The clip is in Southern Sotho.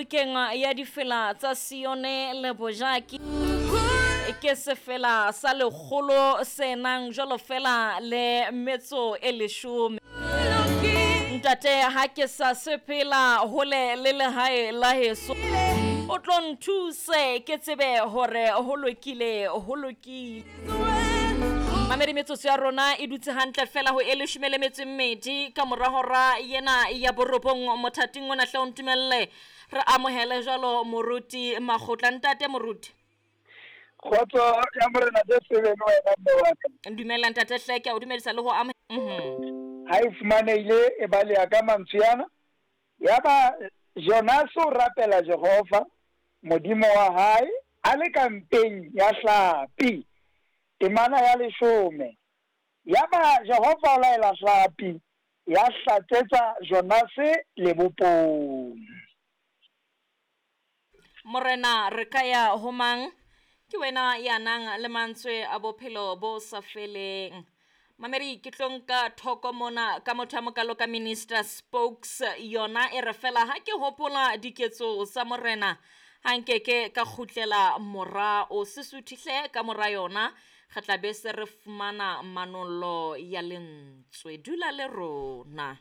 Bukeng ya Difela tsa Sione le Bojaki, ke sefela sa lekgolo se nang jwalo fela le metso e leshome. Ntate, ha ke sa sepela hole le lehae la heso, o tlo nthuse ke tsebe hore ho lokile, ho lokile. Mamedi, metsotso ya rona e dutse hantle fela ho e leshome le metso e mmedi ka mora hora yena ya borobong. Mothating ona hle o ntumelle re amohele jwalo moruti Makgotla. Ntate moruti. Kgotso ya Morena Jesu e be le wena, mme wa ka. Dumela ntate hle, ke a o dumedisa le ho amohela. Ha e fumanehile e baleha ka mantswe ana. Yaba Jonase o rapela Jehova, Modimo wa hae, a le ka mpeng ya hlapi. Temana ya leshome. Yaba Jehova o laela hlapi, ya hlatsetsa Jonase lebopong. Morena, re ka ya ho mang? Ke wena ya nang le mantswe a bophelo bo sa feleng. Mamedi, ke tlo nka thoko mona ka motho a mokalo ka Minister Spokes. Yona e re fela ha ke hopola diketso tsa Morena, ha nkeke ka kgutlela morao. Se suthihle ka mora yona, re tla be se re fumana manollo ya lentswe. Dula le rona.